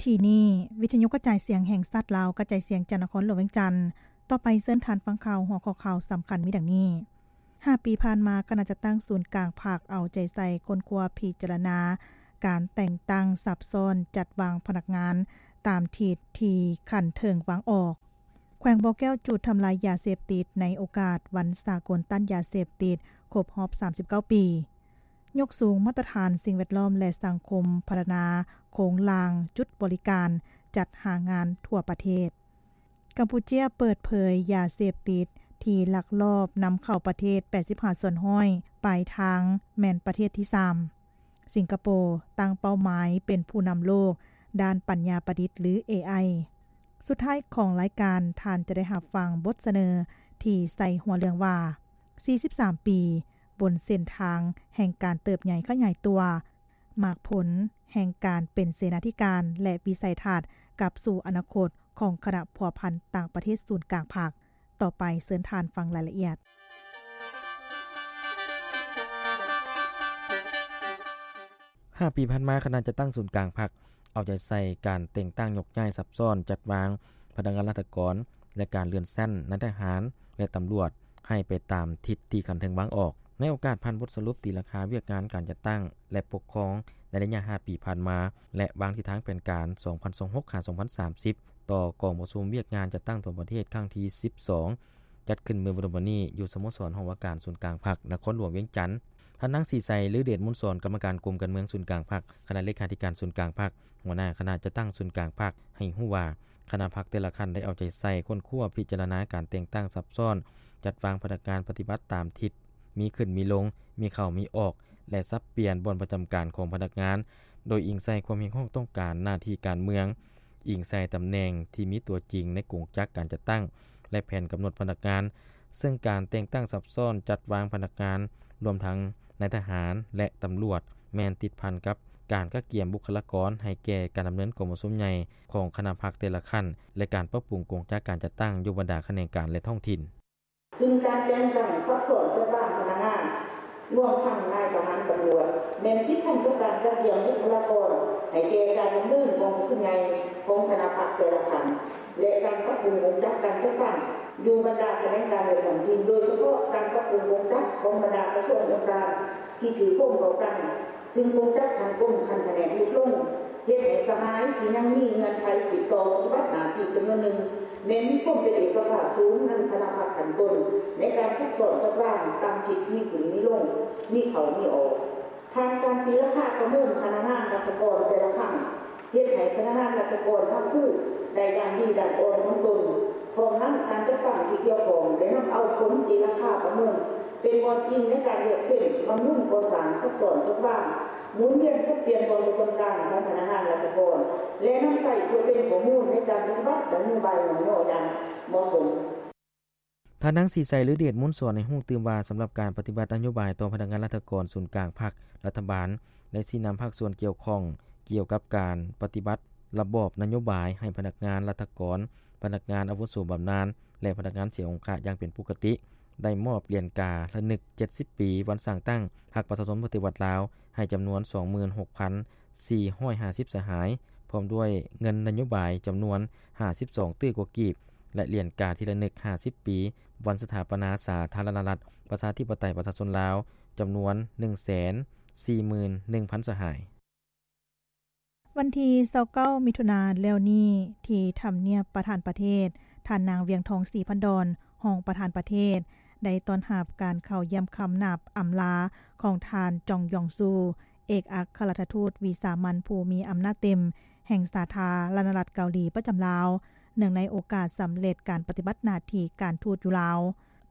ກີ້ນີ້ ວິທະຍຸກະຈາຍສຽງແຫ່ງຊາດລາວ ກະຈາຍສຽງຈາກນະຄອນຫຼວງວຽງຈັນ. ຕໍ່ໄປເຊີນທ່ານຟັງຂ່າວ ຫົວຂໍ້ຂ່າວສຳຄັນມີດັ່ງນີ້. ຫ້າປີຜ່ານມາ, ຄະນະຈັດຕັ້ງສູນກາງພັກເອົາໃຈໃສ່ຄົ້ນຄວ້າພິຈາລະນາການແຕ່ງຕັ້ງສັບຊ້ອນຈັດວາງພະນັກງານຕາມທິດທີ່ຂັ້ນເທິງວາງອອກ. ແຂວງບໍ່ແກ້ວຈູດທຳລາຍຢາເສບຕິດໃນໂອກາດວັນສາກົນຕ້ານຢາເສບຕິດຄົບຮອບສາມສິບເກົ້າປີ. ຍົກສູງມາດຕະຖານສິ່ງແວດລ້ອມ ແລະ ສັງຄົມ, ພັດທະນາໂຄງລ່າງຈຸດບໍລິການ, ຈັດຫາງານທົ່ວປະເທດ. ກຳປູເຈຍເປີດເຜີຍຢາເສບຕິດທີ່ລັກລອບນຳເຂົ້າປະເທດແປດສິບຫ້າສ່ວນຮ້ອຍ ປາຍທາງແມ່ນປະເທດທີສາມ. ສິງກະໂປຕັ້ງເປົ້າໝາຍເປັນຜູ້ນຳໂລກດ້ານປັນຍາປະດິດ ຫຼື ເອໄອ. ສຸດທ້າຍຂອງລາຍການ, ທ່ານຈະໄດ້ຮັບຟັງບົດສະເໜີທີ່ໃສ່ຫົວເລື່ອງວ່າ ສີ່ສິບສາມປີ ບົນເສັ້ນທາງແຫ່ງການເຕີບໃຫຍ່ຂະຫຍາຍຕົວ, ໝາກຜົນແຫ່ງການເປັນເສນາທິການ ແລະ ວິໄສທັດກັບສູ່ອະນາຄົດຂອງຄະນະພົວພັນຕ່າງປະເທດສູນກາງພັກ. ຕໍ່ໄປເຊີນທ່ານຟັງລາຍລະອຽດ. ຫ້າປີຜ່ານມາ, ຄະນະຈັດຕັ້ງສູນກາງພັກເອົາໃຈໃສ່ການແຕ່ງຕັ້ງຍົກຍ້າຍສັບຊ້ອນຈັດວາງພະນັກງານລັດຖະກອນ ແລະ ການເລື່ອນຊັ້ນນາຍທະຫານ ແລະ ຕຳຫຼວດ ໃຫ້ໄປຕາມທິດທີ່ຂັ້ນເທິງວາງອອກ. ໃນໂອກາດຜ່ານບົດສະຫຼຸບຕີລາຄາວຽກງານການຈັດຕັ້ງ ແລະ ປົກຄອງໃນໄລຍະຫ້າປີຜ່ານມາ ແລະ ວາງທິດທາງແຜນການສອງພັນຊາວຫົກ ຫາ ສອງພັນສາມສິບ ຕໍ່ກອງປະຊຸມວຽກງານຈັດຕັ້ງທົ່ວປະເທດຄັ້ງທີສິບສອງ ຈັດຂຶ້ນເມື່ອບໍ່ດົນມານີ້ຢູ່ສະໂມສອນຫ້ອງວ່າການສູນກາງພັກນະຄອນຫຼວງວຽງຈັນ. ທ່ານ ນາງ ສີໄຊ ລືເດດມູນສອນ ກຳມະການກົມການເມືອງສູນກາງພັກ, ຄະນະເລຂາທິການສູນກາງພັກ, ຫົວໜ້າຄະນະຈັດຕັ້ງສູນກາງພັກ ໃຫ້ຮູ້ວ່າ ຄະນະພັກແຕ່ລະຂັ້ນໄດ້ເອົາໃຈໃສ່ຄົ້ນຄວ້າພິຈາລະນາການແຕ່ງຕັ້ງສັບຊ້ອນ ຈັດວາງພະນັກງານປະຕິບັດຕາມທິດ ມີຂຶ້ນມີລົງ, ມີເຂົ້າມີອອກ ແລະ ສັບປ່ຽນບ່ອນປະຈຳການຂອງພະນັກງານ ໂດຍອີງໃສ່ຄວາມຮຽກຮ້ອງຕ້ອງການໜ້າທີ່ການເມືອງ, ອີງໃສ່ຕຳແໜ່ງທີ່ມີຕົວຈິງໃນກົງຈັກການຈັດຕັ້ງ ແລະ ແຜນກຳນົດພະນັກງານ, ເຊິ່ງການແຕ່ງຕັ້ງສັບຊ້ອນຈັດວາງພະນັກງານ ລວມທັງນາຍທະຫານ ແລະ ຕຳຫຼວດ ແມ່ນຕິດພັນກັບການກະກຽມບຸກຄະລາກອນໃຫ້ແກ່ການດຳເນີນກອງປະຊຸມໃຫຍ່ຂອງຄະນະພັກແຕ່ລະຂັ້ນ ແລະ ການປັບປຸງກົງຈັກການຈັດຕັ້ງຢູ່ບັນດາຂະແໜງການ ແລະ ທ້ອງຖິ່ນ. ຊຶ່ງການແຕ່ງຕັ້ງສັບຊ້ອນຈັດວາງພະນັກງານ ລວມທັງນາຍທະຫານ, ຕຳຫຼວດ ແມ່ນຕິດພັນກັບການກະກຽມບຸກຄະລາກອນໃຫ້ແກ່ການດຳເນີນກອງປະຊຸມໃຫຍ່ຂອງຄະນະພັກແຕ່ລະຂັ້ນ ແລະ ການປັບປຸງກົງຈັກການຈັດຕັ້ງຢູ່ບັນດາຂະແໜງການ ແລະ ທ້ອງຖິ່ນ, ໂດຍສະເພາະການປັບປຸງກົງຈັກຂອງບັນດາກະຊວງອົງການທີ່ຖືກໂຍງເຂົ້າກັນ, ຊຶ່ງກົງຈັກຂັ້ນກົມ, ຂັ້ນພະແນກຫຼຸດລົງ, ເຮັດໃຫ້ສະຫາຍທີ່ຍັງມີເງື່ອນໄຂສືບຕໍ່ປະຕິບັດໜ້າທີ່ຈຳນວນໜຶ່ງ ແມ່ນມີຄວາມເປັນເອກະພາບສູງໃນຄະນະພັກຂັ້ນຕົ້ນ ໃນການຊັກຊ້ອນຈັດວາງຕາມທິດມີຂຶ້ນມີລົງ, ມີເຂົ້າມີອອກ. ຜ່ານການຕີລາຄາປະເມີນພະນັກງານລັດຖະກອນແຕ່ລະຄັ້ງ ເຮັດໃຫ້ພະນັກງານລັດຖະກອນຮັບຮູ້ໄດ້ດ້ານດີດ້ານອ່ອນຂອງຕົນ. ພ້ອມນັ້ນ, ການຈັດຕັ້ງທີ່ກ່ຽວຂ້ອງໄດ້ນຳເອົາຜົນຕີລາຄາປະເມີນເປັນບ່ອນອີງໃນການເລືອກເຟັ້ນ, ບຳລຸງກໍ່ສ້າງ, ຊັກຊ້ອນຈັດວາງ, ໝູນວຽນສັບປ່ຽນຄວາມຕ້ອງການຂອງພະນັກງານລັດຖະກອນ ແລະ ນຳໃຊ້ເພື່ອເປັນຂໍ້ມູນໃນການປະຕິບັດນະໂຍບາຍຍ້ອງຍໍຢ່າງເໝາະສົມ. ທ່ານນາງ ສີໄຊ ລືເດດມູນສອນ ໃຫ້ຮູ້ຕື່ມວ່າ ສຳລັບການປະຕິບັດນະໂຍບາຍຕໍ່ພະນັກງານລັດຖະກອນສູນກາງພັກ, ລັດຖະບານໄດ້ຊີ້ນຳພາກສ່ວນກ່ຽວຂ້ອງກ່ຽວກັບການປະຕິບັດລະບອບນະໂຍບາຍໃຫ້ພະນັກງານລັດຖະກອນ, ພະນັກງານອາວຸໂສບຳນານ ແລະ ພະນັກງານເສຍອົງຄະຢ່າງເປັນປົກກະຕິ, ໄດ້ມອບຫຼຽນກາລະນຶກເຈັດສິບປີວັນສ້າງຕັ້ງພັກປະຊາຊົນປະຕິວັດລາວ ໃຫ້ຈຳນວນສອງໝື່ນຫົກພັນສີ່ຮ້ອຍຫ້າສິບສະຫາຍ, ພ້ອມດ້ວຍເງິນນະໂຍບາຍຈຳນວນຫ້າສິບສອງຕື້ກວ່າກີບ ແລະ ຫຼຽນກາທີ່ລະນຶກຫ້າສິບປີ ວັນສະຖາປະນາສາທາລະນະລັດ ປະຊາທິປະໄຕ ປະຊາຊົນລາວ ຈຳນວນໜຶ່ງແສນສີ່ໝື່ນໜຶ່ງພັນສະຫາຍ. ວັນທີຊາວເກົ້າ ມິຖຸນາແລ້ວນີ້ ທີ່ທຳນຽບປະທານປະເທດ, ທ່ານນາງ ວຽງທອງ ສີພັນດອນ ຮອງປະທານປະເທດ ໄດ້ຕ້ອນຮັບການເຂົ້າຢ້ຽມຄຳນັບອຳລາຂອງທ່ານ ຈອງຢອງຊູ ເອກອັກຄະລັດຖະທູດວິສາມັນຜູ້ມີອຳນາດເຕັມແຫ່ງສາທາລະນະລັດເກົາຫຼີປະຈຳລາວ, ເນື່ອງໃນໂອກາດສຳເລັດການປະຕິບັດໜ້າທີ່ການທູດຢູ່ລາວ.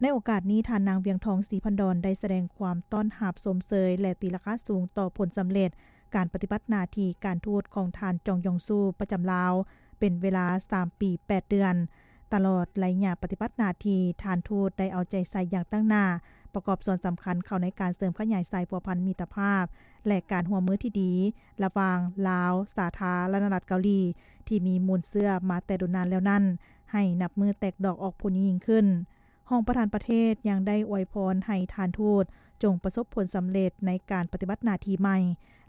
ໃນໂອກາດນີ້, ທ່ານນາງ ວຽງທອງ ສີພັນດອນ ໄດ້ສະແດງຄວາມຕ້ອນຮັບຊົມເຊີຍ ແລະ ຕີລາຄາສູງຕໍ່ຜົນສຳເລັດການປະຕິບັດໜ້າທີ່ການທູດຂອງທ່ານ ຈອງຢອງຊູ ປະຈຳລາວ ເປັນເວລາສາມປີແປດເດືອນ. ຕະຫຼອດໄລຍະປະຕິບັດໜ້າທີ່, ທ່ານທູດໄດ້ເອົາໃຈໃສ່ຢ່າງຕັ້ງໜ້າ ປະກອບສ່ວນສຳຄັນເຂົ້າໃນການເສີມຂະຫຍາຍສາຍພົວພັນມິດຕະພາບ ແລະ ການຮ່ວມມືທີ່ດີລະຫວ່າງລາວ ສາທາລະນະລັດເກົາຫຼີ ທີ່ມີມູນເຊື້ອມາແຕ່ດົນນານແລ້ວນັ້ນ ໃຫ້ນັບມື້ແຕກດອກອອກຜົນຍິ່ງໆຂຶ້ນ. ຮອງປະທານປະເທດຍັງໄດ້ອວຍພອນໃຫ້ທ່ານທູດຈົ່ງປະສົບຜົນສຳເລັດໃນການປະຕິບັດໜ້າທີ່ໃໝ່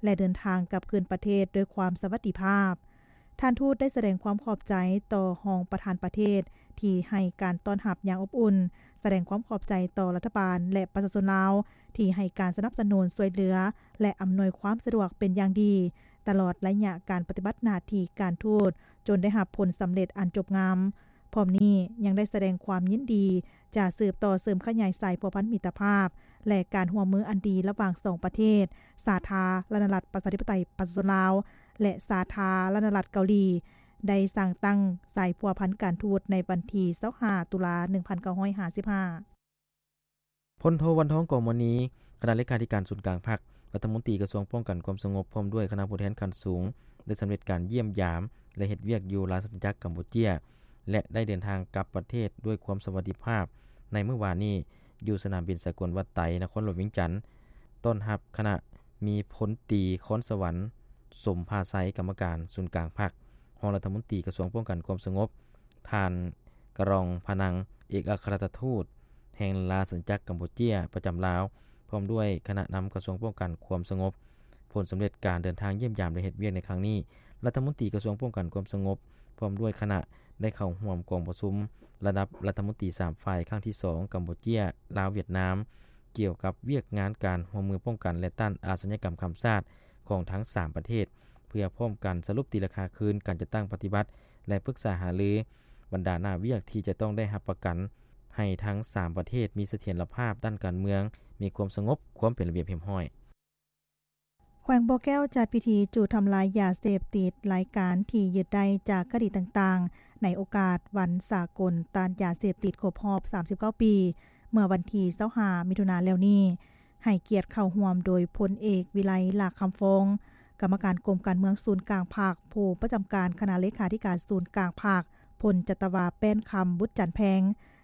ແລະ ເດີນທາງກັບຄືນປະເທດດ້ວຍຄວາມສະຫວັດດີພາບ. ທ່ານທູດໄດ້ສະແດງຄວາມຂອບໃຈຕໍ່ຮອງປະທານປະເທດທີ່ໃຫ້ການຕ້ອນຮັບຢ່າງອົບອຸ່ນ, ສະແດງຄວາມຂອບໃຈຕໍ່ລັດຖະບານ ແລະ ປະຊາຊົນລາວທີ່ໃຫ້ການສະໜັບສະໜູນ, ຊ່ວຍເຫຼືອ ແລະ ອຳນວຍຄວາມສະດວກເປັນຢ່າງດີ ຕະຫຼອດໄລຍະການປະຕິບັດໜ້າທີ່ການທູດ ຈົນໄດ້ຮັບຜົນສຳເລັດອັນຈົບງາມ. ພ້ອມນີ້ຍັງໄດ້ສະແດງຄວາມຍິນດີຈະສືບຕໍ່ເສີມຂະຫຍາຍສາຍພົວພັນມິດຕະພາບ ແລະ ການຮ່ວມມືອັນດີລະຫວ່າງສອງປະເທດ, ສາທາລະນະລັດປະຊາທິປະໄຕປະຊາຊົນລາວ ແລະ ສາທາລະນະລັດເກົາຫຼີ ໄດ້ສ້າງຕັ້ງສາຍພົວພັນການທູດໃນວັນທີຊາວຫ້າ ຕຸລາ ໜຶ່ງພັນເກົ້າຮ້ອຍຫ້າສິບຫ້າ. ພົນໂທ ວັນທອງ ກອງມະນີ ຄະນະເລຂາທິການສູນກາງພັກ, ລັດຖະມົນຕີກະຊວງປ້ອງກັນຄວາມສະຫງົບ ພ້ອມດ້ວຍຄະນະຜູ້ແທນຂັ້ນສູງ ໄດ້ສຳເລັດການຢ້ຽມຢາມ ແລະ ເຮັດວຽກຢູ່ລາຊະອານາຈັກກຳປູເຈຍ ແລະ ໄດ້ເດີນທາງກັບປະເທດດ້ວຍຄວາມສະຫວັດດີພາບໃນມື້ວານນີ້ ຢູ່ສະໜາມບິນສາກົນວັດໄຕ ນະຄອນຫຼວງວຽງຈັນ. ຕ້ອນຮັບຄະນະມີ ພົນຕີ ຄອນສະຫວັນ ສົມພາໄຊ ກຳມະການສູນກາງພັກ, ຮອງລັດຖະມົນຕີກະຊວງປ້ອງກັນຄວາມສະຫງົບ, ທ່ານ ກະຣອງ ພະນັງ ເອກອັກຄະລັດຖະທູດແຫ່ງລາຊະອານາຈັກກຳປູເຈຍປະຈຳລາວ ພ້ອມດ້ວຍຄະນະນຳກະຊວງປ້ອງກັນຄວາມສະຫງົບ. ຜົນສຳເລັດການເດີນທາງຢ້ຽມຢາມ ແລະ ເຮັດວຽກໃນຄັ້ງນີ້, ລັດຖະມົນຕີກະຊວງປ້ອງກັນຄວາມສະຫງົບ ພ້ອມດ້ວຍຄະນະ ໄດ້ເຂົ້າຮ່ວມກອງປະຊຸມລະດັບລັດຖະມົນຕີສາມຝ່າຍ ຄັ້ງທີສອງ ກຳປູເຈຍ ລາວ ຫວຽດນາມ ກ່ຽວກັບວຽກງານການຮ່ວມມືປ້ອງກັນ ແລະ ຕ້ານອາຊະຍາກຳຂ້າມຊາດຂອງທັງສາມປະເທດ ເພື່ອພ້ອມກັນສະຫຼຸບຕີລາຄາຄືນການຈັດຕັ້ງປະຕິບັດ ແລະ ປຶກສາຫາລືບັນດາໜ້າວຽກທີ່ຈະຕ້ອງໄດ້ຮັບປະກັນໃຫ້ທັງສາມປະເທດມີສະຖຽນລະພາບດ້ານການເມືອງ, ມີຄວາມສະຫງົບ, ຄວາມເປັນລະບຽບຮຽບຮ້ອຍ. ແຂວງບໍ່ແກ້ວຈັດພິທີຈູດທຳລາຍຢາເສບຕິດ, ລາຍການທີ່ຍຶດໄດ້ຈາກຄະດີຕ່າງໆ ໃນໂອກາດວັນສາກົນຕ້ານຢາເສບຕິດຄົບຮອບສາມສິບເກົ້າປີ ເມື່ອວັນທີຊາວຫ້າ ມິຖຸນາແລ້ວນີ້ ໃຫ້ກຽດເຂົ້າຮ່ວມໂດຍພົນເອກ ວິໄລ ຫຼ້າຄຳຟອງ ກຳມະການກົມການເມືອງສູນກາງພັກ, ຜູ້ປະຈຳການຄະນະເລຂາທິການສູນກາງພັກ, ພົນຈັດຕະວາ ແປ້ນຄຳ ບຸດຈັນແພງ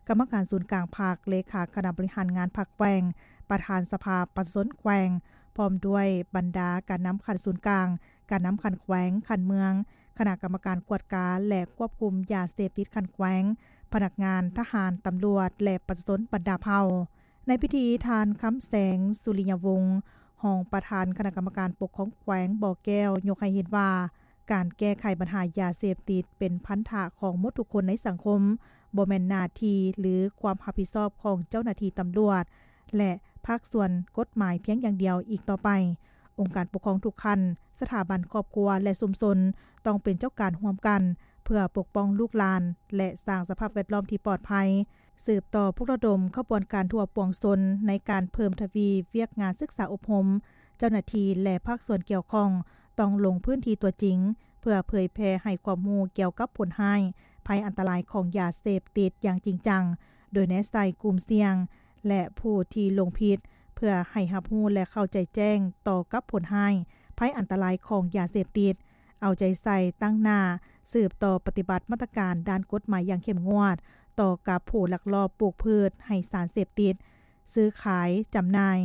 ກຳມະການສູນກາງພັກ, ເລຂາຄະນະບໍລິຫານງານພັກແຂວງ, ປະທານສະພາປະຊາຊົນແຂວງ, ພ້ອມດ້ວຍບັນດາການນຳຂັ້ນສູນກາງ, ການນຳຂັ້ນແຂວງ, ຂັ້ນເມືອງ, ຄະນະກຳມະການກວດກາ ແລະ ຄວບຄຸມຢາເສບຕິດຂັ້ນແຂວງ, ພະນັກງານ, ທະຫານ, ຕຳຫຼວດ ແລະ ປະຊາຊົນບັນດາເຜົ່າ. ໃນພິທີ, ທ່ານ ຄຳແສງ ສຸລິຍະວົງ ຮອງປະທານຄະນະກຳມະການປົກຄອງແຂວງບໍ່ແກ້ວ ຍົກໃຫ້ເຫັນວ່າ ການແກ້ໄຂບັນຫາຢາເສບຕິດເປັນພັນທະຂອງໝົດທຸກຄົນໃນສັງຄົມ, ບໍ່ແມ່ນໜ້າທີ່ ຫຼື ຄວາມຮັບຜິດຊອບຂອງເຈົ້າໜ້າທີ່ຕຳຫຼວດ ແລະ ພາກສ່ວນກົດໝາຍພຽງຢ່າງດຽວອີກຕໍ່ໄປ. ອົງການປົກຄອງທຸກຂັ້ນ, ສະຖາບັນຄອບຄົວ ແລະ ຊຸມຊົນ ຕ້ອງເປັນເຈົ້າການຮ່ວມກັນ ເພື່ອປົກປ້ອງລູກຫຼານ ແລະ ສ້າງສະພາບແວດລ້ອມທີ່ປອດໄພ. ສືບຕໍ່ປຸກລະດົມຂະບວນການທົ່ວປວງຊົນໃນການເພີ່ມທະວີວຽກງານສຶກສາອົບຮົມ. ເຈົ້າໜ້າທີ່ ແລະ ພາກສ່ວນກ່ຽວຂ້ອງຕ້ອງລົງພື້ນທີ່ຕົວຈິງ ເພື່ອເຜີຍແຜ່ໃຫ້ຄວາມຮູ້ກ່ຽວກັບຜົນຮ້າຍ, ໄພອັນຕະລາຍຂອງຢາເສບຕິດຢ່າງຈິງຈັງ, ໂດຍແນະໃສ່ກຸ່ມສ່ຽງ ແລະ ຜູ້ທີ່ລົງຜິດ ເພື່ອໃຫ້ຮັບຮູ້ ແລະ ເຂົ້າໃຈແຈ້ງຕໍ່ກັບຜົນຮ້າຍ, ໄພອັນຕະລາຍຂອງຢາເສບຕິດ. ເອົາໃຈໃສ່ຕັ້ງໜ້າສືບຕໍ່ປະຕິບັດມາດຕະການດ້ານກົດໝາຍຢ່າງເຂັ້ມງວດ ຕໍ່ກັບຜູ້ລັກລອບປູກພືດໃຫ້ສານເສບຕິດ, ຊື້ຂາຍ, ຈຳໜ່າຍ,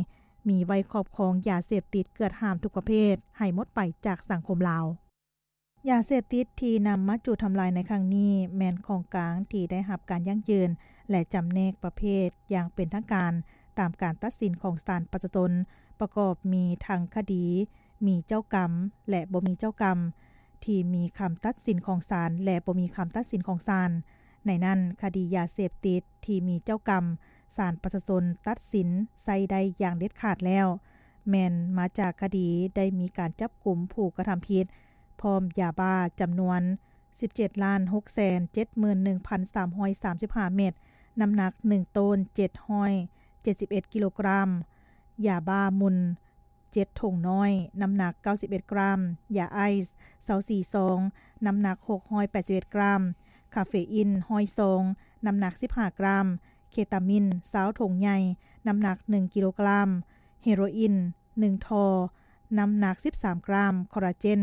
ມີໄວ້ຄອບຄອງຢາເສບຕິດເກືອດຫ້າມທຸກປະເພດ ໃຫ້ໝົດໄປຈາກສັງຄົມລາວ. ຢາເສບຕິດທີ່ນຳມາຈູດທຳລາຍໃນຄັ້ງນີ້ ແມ່ນຂອງກາງທີ່ໄດ້ຮັບການຢັ້ງຢືນ ແລະ ຈຳແນກປະເພດຢ່າງເປັນທາງການ ຕາມການຕັດສິນຂອງສານປະຊາຊົນ ປະກອບມີທັງຄະດີມີເຈົ້າກຳ ແລະ ບໍ່ມີເຈົ້າກຳ ທີ່ມີຄຳຕັດສິນຂອງສານ ແລະ ບໍ່ມີຄຳຕັດສິນຂອງສານ. ໃນນັ້ນ, ຄະດີຢາເສບຕິດທີ່ມີເຈົ້າກຳ ສານປະຊາຊົນຕັດສິນໃຊ້ໄດ້ຢ່າງເດັດຂາດແລ້ວ ແມ່ນມາຈາກຄະດີໄດ້ມີການຈັບກຸມຜູ້ກະທຳຜິດ ພ້ອມຢາບ້າຈຳນວນສິບເຈັດລ້ານຫົກແສນເຈັດໝື່ນໜຶ່ງພັນສາມຮ້ອຍສາມສິບຫ້າເມັດ, ນ້ຳໜັກໜຶ່ງໂຕນເຈັດຮ້ອຍເຈັດສິບເອັດກິໂລກຣາມ, ຢາບ້າໝຸ່ນ ເຈັດຖົງນ້ອຍ, ນ້ຳໜັກເກົ້າສິບເອັດກຣາມ, ຢາໄອສ໌ຊາວສີ່ຊອງ, ນ້ຳໜັກຫົກຮ້ອຍແປດສິບເອັດກຣາມ, ຄາເຟອິນຮ້ອຍຊອງ, ນ້ຳໜັກສິບຫ້າກຣາມ, ເຄຕາມິນຊາວຖົງໃຫຍ່, ນ້ຳໜັກໜຶ່ງກິໂລກຣາມ, ເຮໂຣອິນໜຶ່ງທໍ່, ນ້ຳໜັກສິບສາມກຣາມ, ຄໍລາເຈນ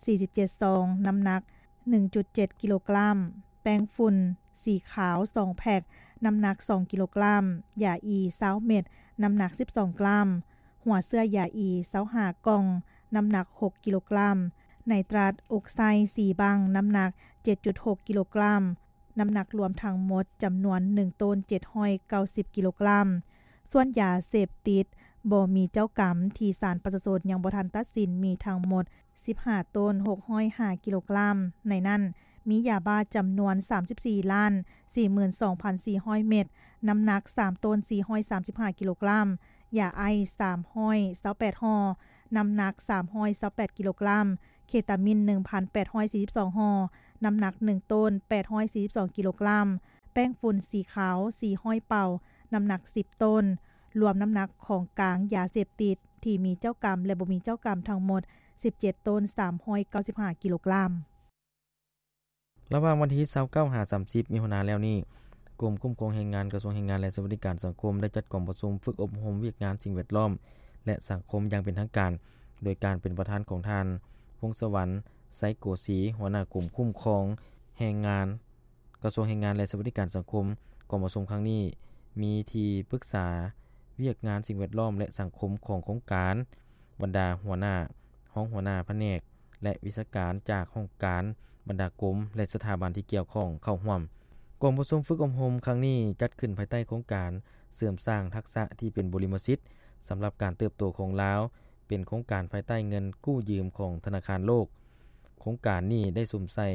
ສີ່ສິບເຈັດຊອງ, ນ້ຳໜັກໜຶ່ງຈຸດເຈັດກິໂລກຣາມ, ແປ້ງຝຸ່ນສີຂາວສອງແພັກ, ນ້ຳໜັກສອງກິໂລກຣາມ, ຢາອີຊາວເມັດ, ນ້ຳໜັກສິບສອງກຣາມ, ຫົວເຊື້ອຢາອີຊາວຫ້າກ່ອງ, ນ້ຳໜັກຫົກກິໂລກຣາມ, ໄນຕຣັດອົກໄຊສີ່ບັ້ງ, ນ້ຳໜັກເຈັດຈຸດຫົກກິໂລກຣາມ, ນ້ຳໜັກລວມທັງໝົດຈຳນວນໜຶ່ງໂຕນເຈັດຮ້ອຍເກົ້າສິບກິໂລກຣາມ. ສ່ວນຢາເສບຕິດບໍ່ມີເຈົ້າກຳທີ່ສານປະຊາຊົນຍັງບໍ່ທັນຕັດສິນມີທັງໝົດ ສິບຫ້າໂຕນ ຫົກຮ້ອຍຫ້າກິໂລກຣາມ, ໃນນັ້ນມີຢາບ້າຈຳນວນສາມສິບສີ່ລ້ານສີ່ໝື່ນສອງພັນສີ່ຮ້ອຍເມັດ, ນ້ຳໜັກສາມໂຕນ ສີ່ຮ້ອຍສາມສິບຫ້າກິໂລກຣາມ, ຢາໄອສສາມຮ້ອຍຊາວແປດຫໍ່, ນ້ຳໜັກສາມຮ້ອຍຊາວແປດກິໂລກຣາມ, ເຄຕາມິນໜຶ່ງພັນແປດຮ້ອຍສີ່ສິບສອງຫໍ່, ນ້ຳໜັກໜຶ່ງໂຕນ ແປດຮ້ອຍສີ່ສິບສອງກິໂລກຣາມ, ແປ້ງຝຸ່ນສີຂາວສີ່ຮ້ອຍເປົາ, ນ້ຳໜັກສິບໂຕນ, ລວມນ້ຳໜັກຂອງກາງຢາເສບຕິດທີ່ມີເຈົ້າກຳ ແລະ ບໍ່ມີເຈົ້າກຳທັງໝົດສິບເຈັດໂຕນ ສາມຮ້ອຍເກົ້າສິບຫ້າກິໂລກຣາມ. ລະຫວ່າງວັນທີຊາວເກົ້າ ຫາ ສາມສິບ ມິຖຸນາແລ້ວນີ້, ກົມຄຸ້ມຄອງແຮງງານ ກະຊວງແຮງງານ ແລະ ສະຫວັດດີການສັງຄົມ ໄດ້ຈັດກອງປະຊຸມຝຶກອົບຮົມວຽກງານສິ່ງແວດລ້ອມ ແລະ ສັງຄົມຢ່າງເປັນທາງການ, ໂດຍການເປັນປະທານຂອງທ່ານ ພົງສະຫວັນ ໄຊໂກສີ, ຫົວໜ້າກົມຄຸ້ມຄອງແຮງງານ ກະຊວງແຮງງານ ແລະ ສະຫວັດດີການສັງຄົມ. ກອງປະຊຸມຄັ້ງນີ້ມີທີ່ປຶກສາວຽກງານສິ່ງແວດລ້ອມ ແລະ ສັງຄົມຂອງໂຄງການ, ບັນດາຫົວໜ້າ, ຮອງຫົວໜ້າພະແນກ ແລະ ວິຊາການຈາກຫ້ອງການ, ບັນດາກົມ ແລະ ສະຖາບັນທີ່ກ່ຽວຂ້ອງເຂົ້າຮ່ວມ. ກອງປະຊຸມຝຶກອົບຮົມຄັ້ງນີ້ຈັດຂຶ້ນພາຍໃຕ້ໂຄງການເສີມສ້າງທັກສະທີ່ເປັນບຸລິມະສິດສຳລັບການເຕີບໂຕຂອງລາວ, ເປັນໂຄງການພາຍໃຕ້ເງິນກູ້ຢືມຂອງທະນາຄານໂລກ. ໂຄງການນີ້ໄດ້ສຸມໃສ່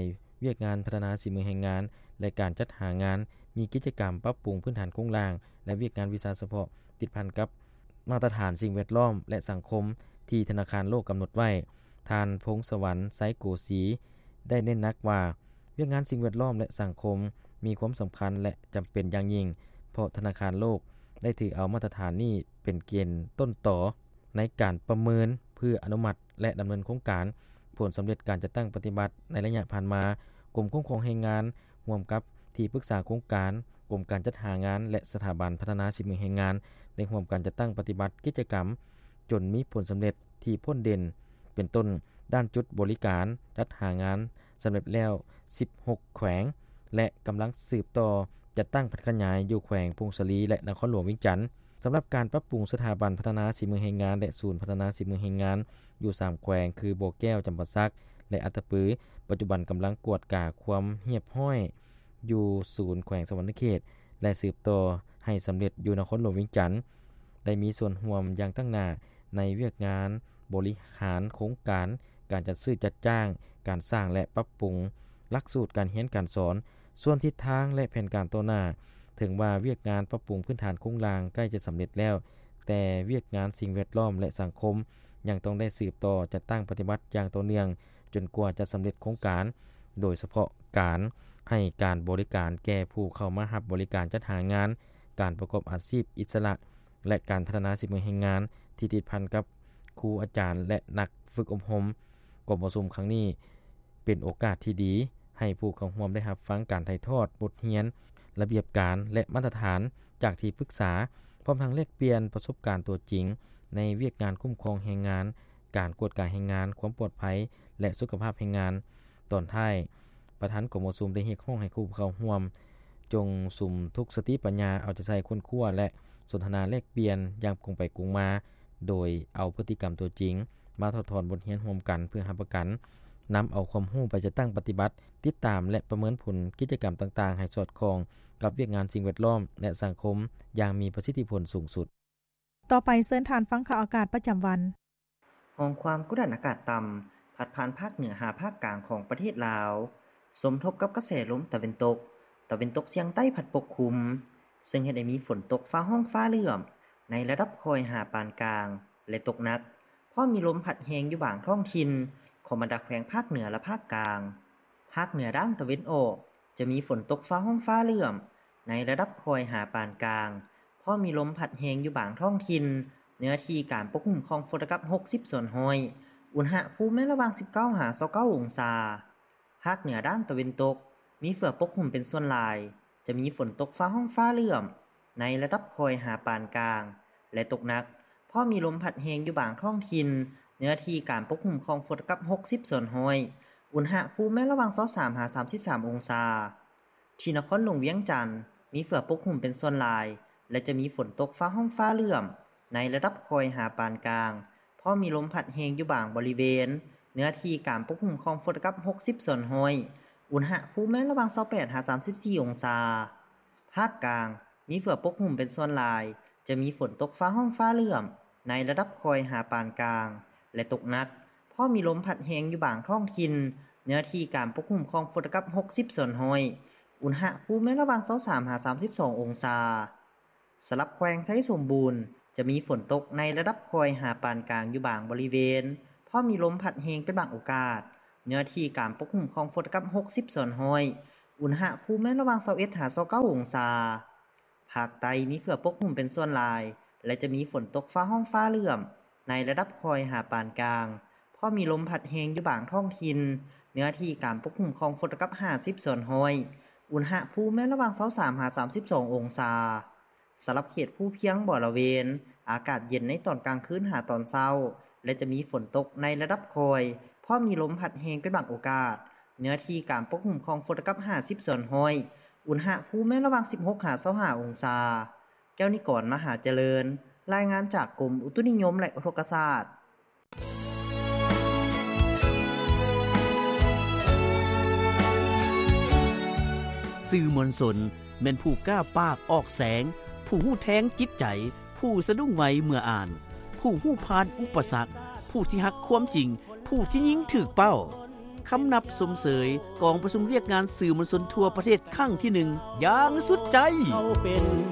ວຽກງານພັດທະນາສີມືແຮງງານ ແລະ ການຈັດຫາງານ, ມີກິດຈະກຳປັບປຸງພື້ນຖານໂຄງລ່າງ ແລະ ວຽກງານວິຊາສະເພາະຕິດພັນກັບມາດຕະຖານສິ່ງແວດລ້ອມ ແລະ ສັງຄົມທີ່ທະນາຄານໂລກກຳນົດໄວ້. ທ່ານ ພົງສະຫວັນ ໄຊໂກສີ ໄດ້ເນັ້ນໜັກວ່າ ວຽກງານສິ່ງແວດລ້ອມ ແລະ ສັງຄົມມີຄວາມສຳຄັນ ແລະ ຈຳເປັນຢ່າງຍິ່ງ, ເພາະທະນາຄານໂລກໄດ້ຖືເອົາມາດຕະຖານນີ້ເປັນເກນຕົ້ນຕໍ ໃນການປະເມີນເພື່ອອະນຸມັດ ແລະ ດຳເນີນໂຄງການ. ຜົນສຳເລັດການຈັດຕັ້ງປະຕິບັດໃນໄລຍະຜ່ານມາ, ກົມຄຸ້ມຄອງແຮງງານ ຮ່ວມກັບທີ່ປຶກສາໂຄງການ, ກົມການຈັດຫາງານ ແລະ ສະຖາບັນພັດທະນາສີມືແຮງງານ ໄດ້ຮ່ວມກັນຈັດຕັ້ງປະຕິບັດກິດຈະກຳ ຈົນມີຜົນສຳເລັດທີ່ພົ້ນເດັ່ນ, ເປັນຕົ້ນ ດ້ານຈຸດບໍລິການຈັດຫາງານສຳເລັດແລ້ວສິບຫົກແຂວງ ແລະ ກຳລັງສືບຕໍ່ຈັດຕັ້ງຜັນຂະຫຍາຍຢູ່ແຂວງຜົ້ງສາລີ ແລະ ນະຄອນຫຼວງວຽງຈັນ. ສຳລັບການປັບປຸງສະຖາບັນພັດທະນາສີມືແຮງງານ ແລະ ສູນພັດທະນາສີມືແຮງງານຢູ່ສາມແຂວງ ຄື ບໍ່ແກ້ວ, ຈຳປາສັກ ແລະ ອັດຕະປື, ປັດຈຸບັນກຳລັງກວດກາຄວາມຮຽບຮ້ອຍຢູ່ສູນແຂວງສະຫວັນນະເຂດ ແລະ ສືບຕໍ່ໃຫ້ສຳເລັດຢູ່ນະຄອນຫຼວງວຽງຈັນ. ໄດ້ມີສ່ວນຮ່ວມຢ່າງຕັ້ງໜ້າໃນວຽກງານບໍລິຫານໂຄງການ, ການຈັດຊື້ຈັດຈ້າງ, ການສ້າງ ແລະ ປັບປຸງຫຼັກສູດການຮຽນການສອນ. ສ່ວນທິດທາງ ແລະ ແຜນການຕໍ່ໜ້າ, ເຖິງວ່າວຽກງານປັບປຸງພື້ນຖານໂຄງລ່າງໃກ້ຈະສຳເລັດແລ້ວ, ແຕ່ວຽກງານສິ່ງແວດລ້ອມ ແລະ ສັງຄົມ ຍັງຕ້ອງໄດ້ສືບຕໍ່ຈັດຕັ້ງປະຕິບັດຢ່າງຕໍ່ເນື່ອງ ຈົນກວ່າຈະສຳເລັດໂຄງການ, ໂດຍສະເພາະການໃຫ້ການບໍລິການແກ່ຜູ້ເຂົ້າມາຮັບບໍລິການຈັດຫາງານ, ການປະກອບອາຊີບອິດສະຫຼະ ແລະ ການພັດທະນາສີມືແຮງງານທີ່ຕິດພັນກັບຄູອາຈານ ແລະ ນັກຝຶກອົບຮົມ. ກອງປະຊຸມຄັ້ງນີ້ເປັນໂອກາດທີ່ດີໃຫ້ຜູ້ເຂົ້າຮ່ວມໄດ້ຮັບຟັງການຖ່າຍທອດບົດຮຽນ, ລະບຽບການ ແລະ ມາດຕະຖານຈາກທີ່ປຶກສາ, ພ້ອມທັງແລກປ່ຽນປະສົບການຕົວຈິງໃນວຽກງານຄຸ້ມຄອງແຮງງານ, ການກວດກາແຮງງານ, ຄວາມປອດໄພ ແລະ ສຸຂະພາບແຮງງານ. ຕອນທ້າຍ, ປະທານກອງປະຊຸມໄດ້ຮຽກຮ້ອງໃຫ້ຜູ້ເຂົ້າຮ່ວມ ຈົ່ງສຸມທຸກສະຕິປັນຍາເອົາໃຈໃສ່ຄົ້ນຄວ້າ ແລະ ສົນທະນາແລກປ່ຽນຢ່າງກົງໄປກົງມາ, ໂດຍເອົາພຶດຕິກຳຕົວຈິງມາຖອດຖອນບົດຮຽນຮ່ວມກັນ ເພື່ອຮັບປະກັນນຳເອົາຄວາມຮູ້ໄປຈັດຕັ້ງປະຕິບັດ, ຕິດຕາມ ແລະ ປະເມີນຜົນກິດຈະກຳຕ່າງໆໃຫ້ສອດຄ່ອງກັບວຽກງານສິ່ງແວດລ້ອມ ແລະ ສັງຄົມຢ່າງມີປະສິດທິຜົນສູງສຸດ. ຕໍ່ໄປເຊີນທ່ານຟັງຂ່າວອາກາດປະຈຳວັນ. ຮ່ອງຄວາມກົດດັນອາກາດຕ່ຳ ພັດຜ່ານພາກເໜືອຫາພາກກາງຂອງປະເທດລາວ, ສົມທົບກັບກະແສລົມຕາເວັນຕົກ, ຕາເວັນຕົກສຽງໃຕ້ພັດປົກຄຸມ, ເຊິ່ງເຮັດໃຫ້ມີຝົນຕົກຟ້າຮ້ອງຟ້າເຫຼື້ອມໃນລະດັບຄ່ອຍຫາປານກາງ ແລະ ຕົກໜັກ, ພ້ອມມີລົມພັດແຮງຢູ່ບາງທ້ອງຖິ່ນຂອງບັນດາແຂວງພາກເໜືອ ແລະ ພາກກາງ. ພາກເໜືອດ້ານຕາເວັນອອກ ຈະມີຝົນຕົກຟ້າຮ້ອງຟ້າເຫຼື້ອມໃນລະດັບຄ່ອຍຫາປານກາງ, ພ້ອມມີລົມພັດແຮງຢູ່ບາງທ້ອງຖິ່ນ, ເນື້ອທີ່ການປົກຄຸມຂອງຝົນຕະກັບຫົກສິບສ່ວນຮ້ອຍ, ອຸນຫະພູມແມ່ນລະຫວ່າງສິບເກົ້າຫາຊາວເກົ້າອົງສາ. ພາກເໜືອດ້ານຕາເວັນຕົກ ມີເຝືອປົກຄຸມເປັນສ່ວນຫຼາຍ, ຈະມີຝົນຕົກຟ້າຮ້ອງຟ້າເຫຼື້ອມໃນລະດັບຄ່ອຍຫາປານກາງ ແລະ ຕົກໜັກ, ພ້ອມມີລົມພັດແຮງຢູ່ບາງທ້ອງຖິ່ນ, ເນື້ອທີ່ການປົກຄຸມຂອງຝົນຕະກັບຫົກສິບສ່ວນຮ້ອຍ, ອຸນຫະພູມແມ່ນລະຫວ່າງຊາວສາມຫາສາມສິບສາມອົງສາ. ທີ່ນະຄອນຫຼວງວຽງຈັນ ມີເຝືອປົກຫຸ້ມເປັນສ່ວນຫຼາຍ ແລະ ຈະມີຝົນຕົກຟ້າຮ້ອງຟ້າເຫຼື້ອມໃນລະດັບຄ່ອຍຫາປານກາງ, ພ້ອມມີລົມພັດແຮງຢູ່ບາງບໍລິເວນ, ເນື້ອທີ່ການປົກຫຸ້ມຂອງຝົນຕະກັບຫົກສິບສ່ວນຮ້ອຍ, ອຸນຫະພູມແມ່ນລະຫວ່າງຊາວແປດຫາສາມສິບສີ່ອົງສາ. ພາກກາງ ມີເຝືອປົກຫຸ້ມເປັນສ່ວນຫຼາຍ, ຈະມີຝົນຕົກຟ້າຮ້ອງຟ້າເຫຼື້ອມໃນລະດັບຄ່ອຍຫາປານກາງ ແລະ ຕົກໜັກ, ພໍມີລົມພັດແຮງຢູ່ບາງທ້ອງຖິ່ນ, ເນື້ອທີ່ການປົກຄຸມຂອງຝົນເທົ່າກັບຫົກສິບສ່ວນຮ້ອຍ, ອຸນຫະພູມແມ່ນລະຫວ່າງຊາວສາມຫາສາມສິບສອງອົງສາ. ສຳລັບແຂວງໄຊສົມບູນ ຈະມີຝົນຕົກໃນລະດັບຄ່ອຍຫາປານກາງຢູ່ບາງບໍລິເວນ, ພໍມີລົມພັດແຮງເປັນບາງໂອກາດ, ເນື້ອທີ່ການປົກຄຸມຂອງຝົນເທົ່າກັບຫົກສິບສ່ວນຮ້ອຍ, ອຸນຫະພູມແມ່ນລະຫວ່າງຊາວເອັດຫາຊາວເກົ້າອົງສາ. ພາກໃຕ້ມີເຝືອປົກຄຸມເປັນສ່ວນຫຼາຍ ແລະ ຈະມີຝົນຕົກຟ້າຮ້ອງຟ້າເຫຼື້ອມໃນລະດັບຄ່ອຍຫາປານກາງ, ພໍມີລົມພັດແຮງຢູ່ບາງທ້ອງຖິ່ນ, ເນື້ອທີ່ການປົກຄຸມຂອງຝົນເທົ່າກັບຫ້າສິບສ່ວນຮ້ອຍ, ອຸນຫະພູມແມ່ນລະຫວ່າງຊາວສາມຫາສາມສິບສອງອົງສາ. ສຳລັບເຂດພູພຽງບໍລະເວນ, ອາກາດເຢັນໃນຕອນກາງຄືນຫາຕອນເຊົ້າ ແລະ ຈະມີຝົນຕົກໃນລະດັບຄ່ອຍ, ພໍມີລົມພັດແຮງເປັນບາງໂອກາດ, ເນື້ອທີ່ການປົກຄຸມຂອງຝົນເທົ່າກັບຫ້າສິບສ່ວນຮ້ອຍ, ອຸນຫະພູມແມ່ນລະຫວ່າງສິບຫົກຫາຊາວຫ້າອົງສາ. ແກ້ວນິກອນ ມະຫາຈະເລີນ, ລາຍງານຈາກກົມອຸຕຸນິຍົມ ແລະ ອຸທົກກະສາດ. ສື່ມວນຊົນແມ່ນຜູ້ກ້າປາກອອກແສງ, ຜູ້ຮູ້ແທງຈິດໃຈ, ຜູ້ສະດຸ້ງໄວເມື່ອອ່ານ, ຜູ້ຮູ້ຜ່ານອຸປະສັກ, ຜູ້ທີ່ຮັກຄວາມຈິງ, ຜູ້ທີ່ຍິງຖືກເປົ້າ. ຄຳນັບຊົມເຊີຍກອງປະຊຸມວຽກງານສື່ມວນຊົນທົ່ວປະເທດຄັ້ງທີໜຶ່ງຢ່າງສຸດໃຈ. ເຮົາເປັນ